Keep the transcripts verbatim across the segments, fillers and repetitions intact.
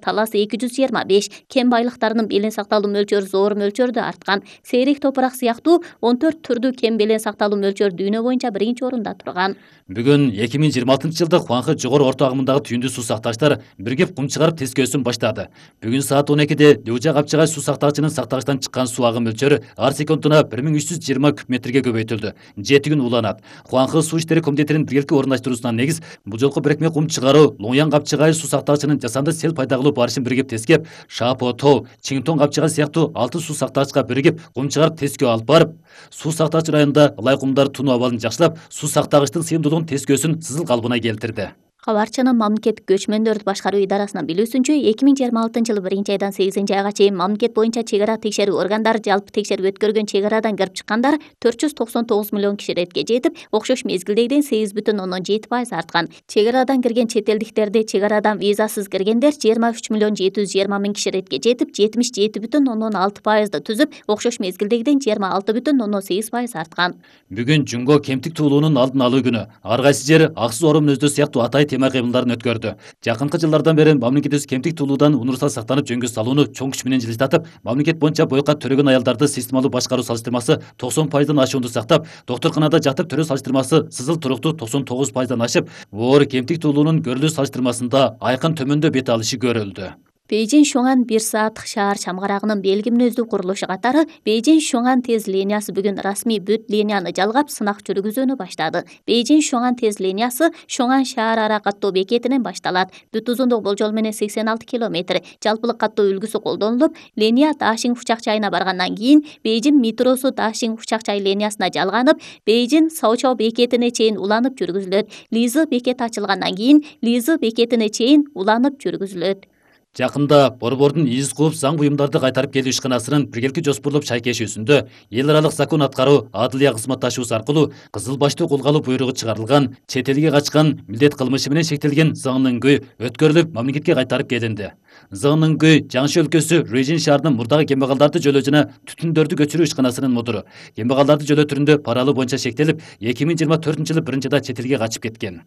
талас эки жүз жыйырма беш, кен байлыктарынын белең сакталуу мөлчөрү зор мөлчөрдө арткан. Сейрек топурак сыяктуу он төрт түрдүү кен белең сакталуу мөлчөрү дүйнө боюнча биринчи орунда турган. Бүгүн эки миң жыйырма алтынчы жылда Хуанхэ жогору орто агымындагы түйүндүү суу сактагычтар биригип кум чыгарып тескөөсүн баштады. Бүгүн саат он экиде Лужа Капчыгай суу сактагычынын сактагычтан чыккан суу агым мөлчөрү ар секундуна бир миң үч жүз жыйырма куб метрге көбөйтүлдү. жети күн уланат. Хуанхэ суу иштери комитетинин биргеликти орундаштыруусуна негиз бул жолку бирикме кум чыгаруу Лоңян Капчыгай суу сактагычынын жасанды сел пайда кылуу барышын биригип тескеп, Шапо Тоо, Чинтон Капчыгай сыяктуу алты суу сактагычка биригип кум чыгарып тескөө алып барып, суу сактагыч районунда ылай кумдар тунуу абалын жакшылап, суу сактагычтын сыйымдуулугун тескөөсүн сызыл калыбына келтирди. Кабарчынын мамлекеттик көчмөндөрдү башкаруу идарасынын билүүсүнчө, эки миң жыйырма алтынчы жылы биринчи айдан сегизинчи айга чейин мамлекет боюнча чек ара текшерүү органдары жалпы текшерип өткөргөн чек арадан кирип чыккандар төрт жүз токсон тогуз миллион киши иретке жетип, окшош мезгилдегиден сегиз бүтүн ондон жети пайыз арткан. Чек арадан кирген чет элдиктерди чек арадан визасыз киргендер жыйырма үч миллион жети жүз жыйырма миң киши иретке жетип, жетимиш жети бүтүн ондон алты пайызды түзүп, окшош мезгилдегиден жыйырма алты бүтүн ондон сегиз пайыз арткан. Бүгүн Жунго кемтик туулуунун алдын алуу күнү. Ар кайсы жер аксыз орун мүнөздөө сыяктуу атай тема кыймылдарын өткөрдү. Жакынкы жылдардан бери мамлекетибиз кемтик туулуудан универсал сактанып жөнгө салууну чоң күч менен жылыстатып, мамлекет боюнча бойка төрөгөн аялдарды системалуу башкаруу салыштырмасы токсон пайыздан ашуунду сактап, доктурканада жатып төрөө салыштырмасы сызыл туруктуу токсон тогуз пайыздан ашып, оор кемтик туулуунун көрүлүү салыштырмасында айкын төмөндө бет алышы көрүлдү. Бейжин-Шуңан бир сааттык шаар чамгарагынын белги мүнөздүү курулушу катары Бейжин-Шуңан тез линиясы бүгүн расмий бүт линияны жалгап сынак жүргүзүүнү баштады. Бейжин-Шуңан тез линиясы Шуңан шаар ара каттоо бекетинен башталат. Бүт узундугу болжол менен сексен алты километр. Жалпылык каттоо үлгүсү колдонулуп, линия Дашинг учак жайына баргандан кийин Бейжин метросу Дашинг учак жай линиясына жалганып, Бейжин Саочао бекетине чейин уланып жүргүзүлөт. Лизы бекети ачылгандан кийин Лизы бекетине чейин уланып жүргүзүлөт. Жакында борбордун из кууп заң буюмдарды кайтарып келүү ишканасынын биргеликти жоспурлоп шайкешүүсүндө эл аралык закон аткаруу адылия кызматташуусу аркылуу кызыл баштуу колго алуу буйругу чыгарылган, чет элге качкан, милдет кылмышы менен шектелген Зыңныңгүй өткөрүлүп мамлекетке кайтарып келинди. Зыңныңгүй Жаңшы өлкөсү Рөйжин шаарынын мурдагы кембагалдарды жөлөө жана түтүндөрдү көчүрүү ишканасынын мудуру. Кембагалдарды жөлөө түрүндө пара алуу боюнча шектелип, эки миң жыйырма төртүнчү жылы биринчи айда чет элге качып кеткен.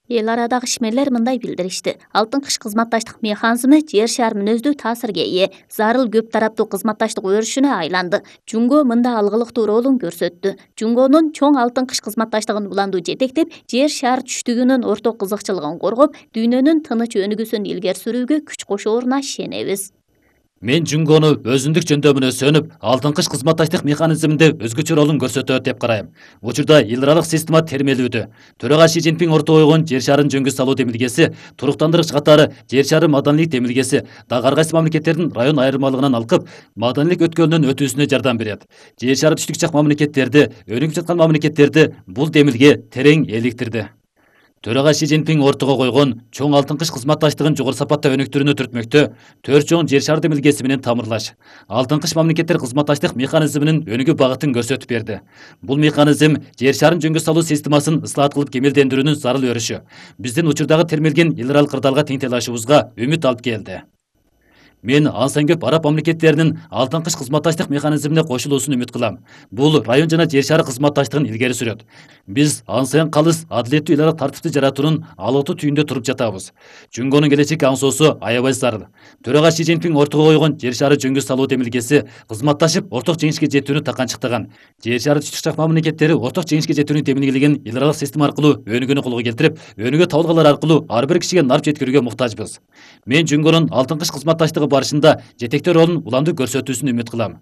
Эл арадагы ишмерлер мындай билдиришти. Алтын кыш кызматташтык механизми жер шаар мүнөздүү таасирге ээ, зарыл көп тараптуу кызматташтык өрүшүнө айланды. Жунго мында алгылыктуу ролун көрсөттү. Жунгонун чоң алтын кыш кызматташтыгын уландуу жетектеп, жер шаар түштүгүнүн орток кызыкчылыгын коргоп, дүйнөнүн тыныч өнүгүүсүн илгери сүрүүгө күч кошооруна ишенебиз. Мен Жунгону өзүндүк жөндөмүнө сөнүп, алтын кыш кызматташтык механизминде өзгөчө ролун көрсөтөт деп карайм. Учурда эл аралык система термелүүдө. Төрага Ши Цзиньпин орто койгон жер шаарын жөнгө салуу демилгеси, туруктандыргыч катары жер шаары маданийлик демилгеси дагы ар кайсы мамлекеттердин район айырмалыгынан алкып, маданийлик өткөлүнүн өтүүсүнө жардам берет. Жер шаары түштүк жак мамлекеттерди, өнүгүп жаткан мамлекеттерди бул демилге терең эликтирди. Төрага Ши Цзиньпин ортого койгон чоң алтын кыш кызматташтыгын жогору сапатта өнүктүрүүнү түртмөктө төрт чоң жер шаар демилгеси менен тамырлаш, алтын кыш мамлекеттер кызматташтык механизминин өнүгүү багытын көрсөтүп берди. Бул механизм жер шаарын жөнгө салуу системасын ыслаат кылып кемелдендирүүнүн зарыл өрүшү биздин учурдагы термелген эл аралык кырдаалга тең талашыбызга үмүт алып келди. Мен ансан көп араб мамлекеттеринин алтын кыш кызматташтык механизмине кошулуусун үмүт кылам. Бул район жана жер шаар кызматташтыгын илгери сүрөт. Биз ансан калыс адилеттүү эл аралык тартипти жаратуунун алооту түйүндө туруп жатабыз. Жунгонун келечек аңсоосу аябай зарыл. Төрага Ши Цзиньпин ортого койгон жер шаары жөнгө салуу демилгеси кызматташып орток жеңишке жетүүнү таканчыктаган. Жер шаары түштүк жак мамлекеттери орток жеңишке жетүүнү демилгелеген эл аралык система аркылуу өнүгүүнү колго келтирип, өнүгүү табылгалар аркылуу ар бир кишиге нарп жеткирүүгө муктажбыз. Мен Жунгонун алтын кыш кызматташтыгы барышында жетектөө ролун уламдуу көрсөтүүсүн үмүт кылам.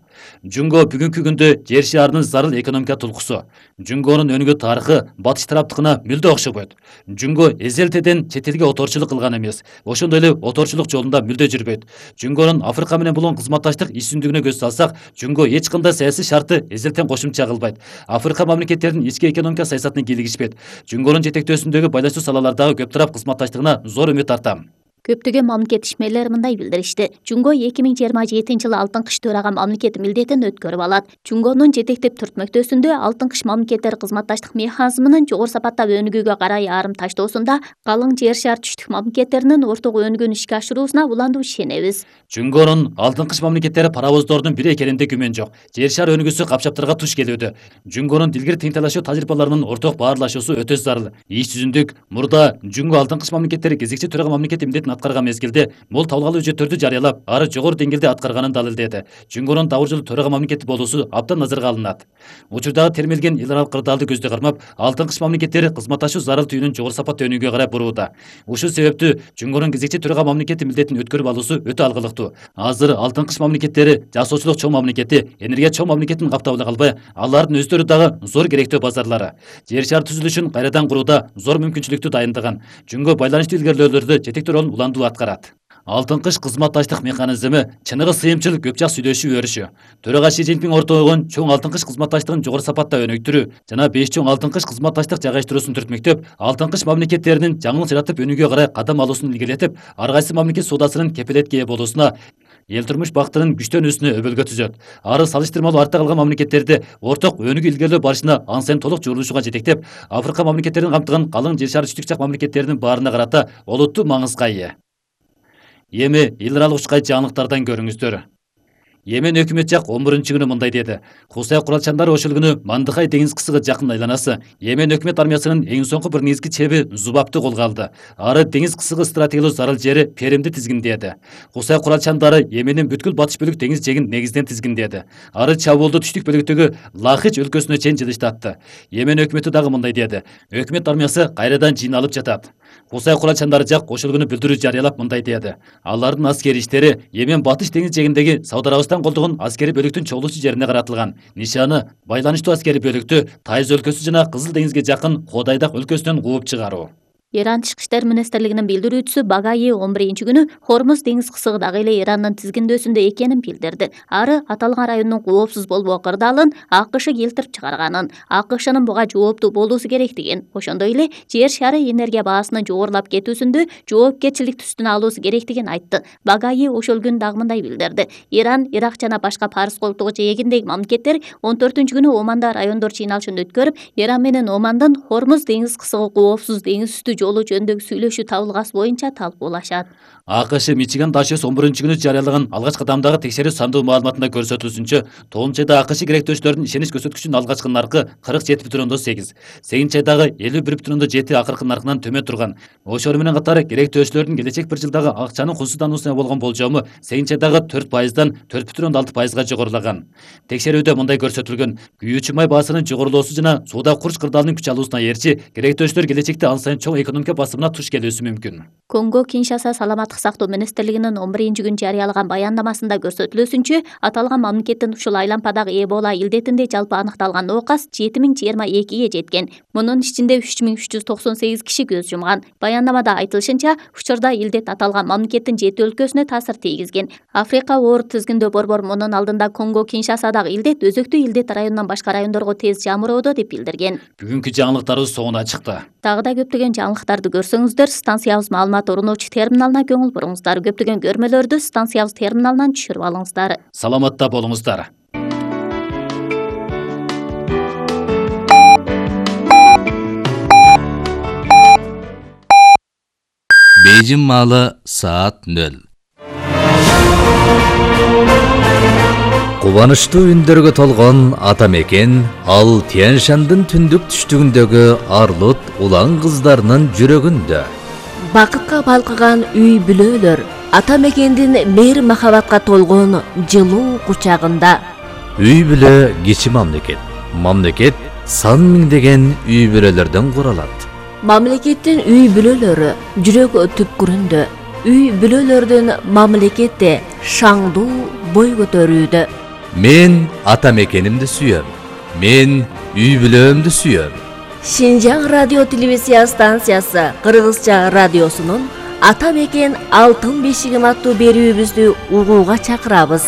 Жунго бүгүнкү күндө жер шаарынын зарыл экономика тулкусу. Жунгонун өнүгүү тарыхы батыш тараптыкына мүлдө окшобойт. Жунго эзелтеден чет элге оторчулук кылган эмес, ошондой эле оторчулук жолунда мүлдө жүрбөйт. Жунгонун Африка менен болгон кызматташтык иш-түндүгүнө көз салсак, Жунго эч кандай саясий шартты эзелтен кошумча кылбайт. Африка мамлекеттеринин ички экономика саясатына кийлигишпейт. Жунгонун жетектөөсүндөгү байланыштуу салалардагы көп тарап кызматташтыгына зор үмүт артам. Көптөгөн мамлекет ишмерлери мындай билдиришти. Жунго эки миң жыйырма жетинчи жылы алтын кыш төрага мамлекет милдетин өткөрүп алат. Жунгонун жетектеп түртмөктөсүндө алтын кыш мамлекеттер кызматташтык механизминин жогору сапаттап өнүгүүгө карай ярым таштоосунда калың жер шаар түштүк мамлекеттеринин орток өнүгүүнү ишке ашыруусуна улантуу ишенебиз. Жунгонун алтын кыш мамлекеттери паровоздордун бири экенинде күмөн жок. Жер шаар өнүгүүсү капчаптарга туш келүүдө. Жунгонун дилгир тең талашуу тажрыйбаларынын орток баарлашуусу өтө зарыл. Иш жүзүндүк мурда Жунго алтын кыш мамлекеттери кезекчи төрага мамлекет милдетин аткарган мезгилде мол табылган үжөттөрдү жарыялап, ары жогору деңгээлде аткарганын далилдеди. Жунгонун дабуржулуу төрага мамлекети болуусу абдан назарга алынат. Учурдагы термелген эл аралык кырдаалды көздө кармап, алтын кыш мамлекеттери кызматташуу зарыл түйүнүн жогору сапаттуу өнүгүүгө карай бурууда. Ушул себептүү Жунгонун кезекчи төрага мамлекети милдетин өткөрүп алуусу өтө алгылыктуу. Азыр алтын кыш мамлекеттери жасоочулук чоң мамлекети, энергия чоң мамлекетин каптап эле калбай, алардын өздөрү дагы зор керектөө базарлары. Жер шаар түзүлүшүн кайрадан курууда зор мүмкүнчүлүктү дайындаган. Жунго байланыштуу илгерилөөлөрдө жетектүү ролун улантуу аткарат. Алтын кыш кызматташтык механизми чыныгы сыйымчыл көп жак сүйлөшүү өрүшү. Төрага Си Цзиньпин ортого койгон чоң алтын кыш кызматташтыгын жогору сапатта өнүктүрүү жана беш чоң алтын кыш кызматташтык жайгаштыруусун түртмөктөп, алтын кыш мамлекеттеринин жаңы жаратып өнүгүүгө карай кадам алуусун илгерилетип, ар кайсы мамлекет соодасынын кепилетке ээ болуусуна, эл турмуш бактынын күчтөнүүсүнө өбөлгө түзөт. Ары салыштырмалуу артта калган мамлекеттерди орток өнүгүү илгерилөө барышына ан сайын толук журулушууга жетектеп, Африка мамлекеттерин камтыган калың жер шаар түштүк жак мамлекеттеринин баарына карата олуттуу маңызга ээ. Эми эл аралык учкай жаңылыктардан көрүңүздөр. Йемен өкмөт жак он биринчи күнү мындай деди. Хусай куралчандары ошол күнү Мандыхай деңиз кысыгы жакын айланасы Йемен өкмөт армиясынын эң соңку бир негизги чеби Зубапты колго алды. Ары деңиз кысыгы стратегиялык зарыл жери Перимди тизгиндеди. Хусай куралчандары Йеменин бүткүл батыш бөлүк деңиз жегин негизден тизгиндеди. Ары чабуулду түштүк бөлүктөгү Лахич өлкөсүнө чейин жылыштатты. Йемен өкмөтү дагы мындай деди. Өкмөт армиясы кайрадан жыйналып жатат. Хусай куралчандары жак ошол күнү билдирүү жарыялап мындай деди. Алардын аскери иштери Йемен батыш деңиз жегиндеги Сауд Арабистан колдогон аскери бөлүктүн чогулуучу жерине каратылган. Нишаны байланыштуу аскери бөлүктү Тайыз өлкөсү жана Кызыл деңизге жакын Ходайдак өлкөсүнөн кууп чыгаруу. Иран Тышкы иштер министрлигинин билдирүүчүсү Багаи он биринчи күнү Хормуз деңиз кысыгы дагы эле Ирандын тизгиндөөсүндө экенин билдирди. Ары аталган райондун коопсуз болбоо кырдаалын АКШ келтирип чыгарганын, АКШнын буга жооптуу болуусу керектигин, ошондой эле жер шары энергия баасынын жогорулап кетүүсүндө жоопкерчиликти үстүнө алуусу керектигин айтты. Багаи ошол күнү дагы мындай билдирди. Иран, Ирак жана башка Парс колтугу жээгиндеги мамлекеттер он төртүнчү күнү Оманда райондор жыйналышын өткөрүп, Иран менен Омандын Хормуз деңиз кысыгы коопсуз деңиз үстү жолу жөнүндөгү сүйлөшүү табылгасы боюнча талкуулашат. АКШ Мичиган дашес он биринчи күнү жарыялаган алгач кадамдагы текшерүү сандуу маалыматында көрсөтүлүшүнчө, тогузунчу айда АКШ керектөөчүлөрдүн ишенич көрсөткүчүнүн алгачкы наркы кырк жети бүтүн ондон сегиз, сегизинчи айдагы элүү бир бүтүн ондон жети акыркы наркынан төмөн турган. Ошол менен катары керектөөчүлөрдүн келечек бир жылдагы акчанын кулсуздануусуна болгон болжому сегизинчи айдагы төрт пайыздан төрт бүтүн ондон алты пайызга жогорулаган. Текшерүүдө мындай көрсөтүлгөн: күйүүчү май баасынын жогорулоосу жана сууда курч кырдаалынын күч алуусуна ээрчи керектөөчүлөр келечекте ан сайын чоң экономика басымына туш келүүсү мүмкүн. Конго Киншаса саламаттык сактоо министрлигинин он биринчи күнү жарыялаган баяндамасында көрсөтүлүүсүнчө, аталган мамлекеттин ушул айлампадагы Эбола илдетинде жалпы аныкталган оокас жети миң жыйырма экиге жеткен. Мунун ичинде үч миң үч жүз токсон сегиз киши көз жумган. Баяндамада айтылышынча, учурда илдет аталган мамлекеттин жети өлкөсүнө таасир тийгизген. Африка оору тизгиндөө борбор мунун алдында Конго Киншасадагы илдет өзөктүү илдет районунан башка райондорго тез жамыроодо деп билдирген. Бүгүнкү жаңылыктарыбыз соңуна чыкты. Дагы да көптөгөн жаңылыктарды көрсөңүздөр, станциябыз маалымат орунуучу терминалына көңүл буруңуздар. Көптөгөн көрмөлөрдү станциябыз терминалынан түшүрүп алыңыздар. Саламатта болуңуздар. Бейжин маалы саат нөл. Кубанычтуу үндөргө толгон ата мекен ал Тянь-Шандын түндүк түштүгүндөгү арлыт улан кыздарынын жүрөгүндө. Бакытка балкыган үй бүлөлөр ата мекендин мейир махабатка толгон жылуу кучагында. Үй бүлө кичи мамлекет. Мамлекет сан миңдеген үй бүлөлөрдөн куралат. Мамлекеттин үй бүлөлөрү жүрөк түпкүрүндө. Үй бүлөлөрдүн мамлекетте шаңдуу бой көтөрүүдө. Мен ата мекенимди сүйөм. Мен үй бүлөмдү сүйөм. Шинжаң радио телевизия станциясы Кыргызча радиосунун Ата мекен алтын бешигим аттуу берүүбүздү угууга чакырабыз.